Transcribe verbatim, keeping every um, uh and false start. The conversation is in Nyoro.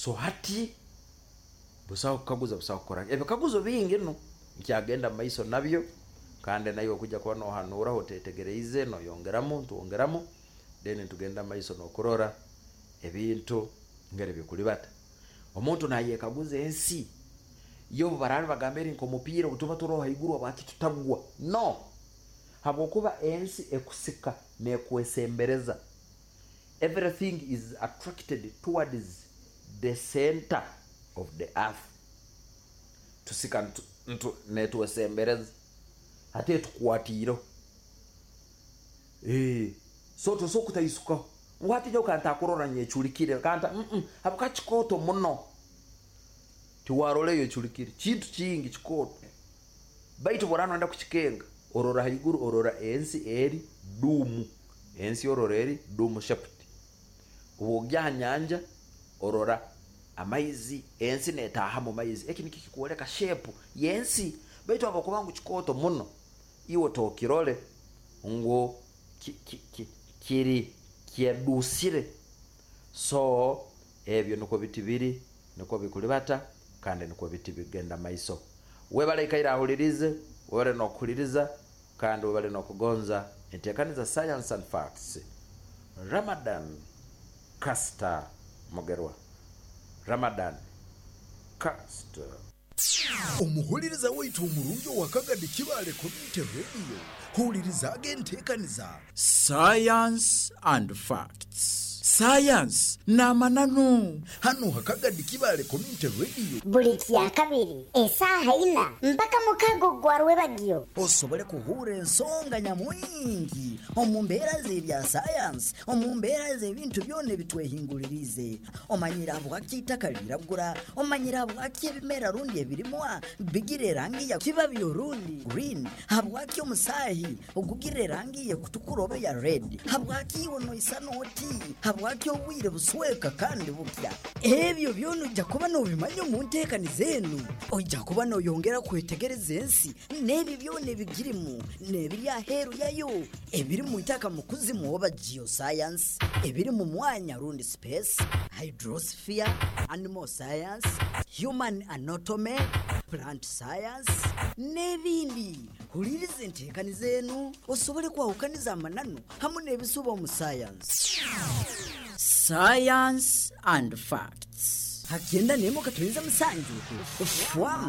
So hati busaho kukaguza, busaho kukora ebikaguzo bingi. No nkyagenda mu maiso nabyo, kandi naiwe kujja kuba nohanuraho otetegereize, noyongeramu, ntwongeramu, then ntugenda maiso n'okurora ebintu ngeri bikulibata. Omuntu nayekaguza ensi yo obu baraaba bagamba eri nk'omupiira, obu tuba turoho haiguru habwaki tutagwa? No habwokuba ensi ekusika nekwesembereza. Everything is attracted towards the center of the earth. Tusika ntu- ntu- netwesembereza, hati etukwatiireho. Eh, so tosobola kutaisukaho ngu hati nyowe kantakurora nyeculikire kanta mm -mm, habwokuba kikooto muno, tiwarora eyo eculikire kintu kingi kikooto. Baitu bworaba noyenda kukikenga, orora haiguru, orora ensi eri dome, ensi orora eri dome shaped. Obu ogya ha nyanja, orora amaizi, ensi netaaha mu maizi. Eki nikyo kikwoleka shape y'ensi. Baitu habwokuba ngu kikooto muno, iwe tokirole ngu ki- ki- ki- kiri kyedusire. So ebyo nikwo biti biri, nikwo bikulibata, kandi nikwo biti bigenda maiso. Webale ikaire ahulirize, webale n'okuhuliriza, kandi webale n'okugonza enteekaniza Science and Facts. Ramadan Caster Mugerwa, Ramadan Caster. Omuhuliriza waitu omurungi owa Kagadi Kibaale Community Radio, hulirizaaga enteekaniza Science and Facts, sayansi n'amananu, hano ha Kagadi Kibaale Community Radio. Buli kyakabiri esaaha ina mpaka mukago gwa rwebagyo. Osobole kuhurra ensonga nyamwingi omu mbeera z'ebya sayansi, omu mbeera z'ebintu byona ebitwehingulirize. Omanyire habwaki itaka liragura? Omanyire habwaki ebimera rundi ebirimwa bigira erangi ya kibabi orundi green? Habwaki omusaahi ogugira erangi yekutukura oba ya red? Habwaki iwe noisana oti? Habwaki obwire busweka kandi bukya? Ebyo byona ojja kuba nobimanya omu nteekaniza enu. Ojja kuba noyongera kwetegereza ensi n'ebi byona ebigirimu n'ebiri aheeru yayo, ebiri mu itaka mu kuzimu oba geoscience, ebiri mu mwanya rundi space, hydrosphere, animal science, human anatomy, plant science n'ebindi. Huliriza enteekaniza enu osobole kwahukaniza amananu hamu n'ebisuba omu science. Science and Facts. Hakyenda nemu katonyeza musanju fwamu.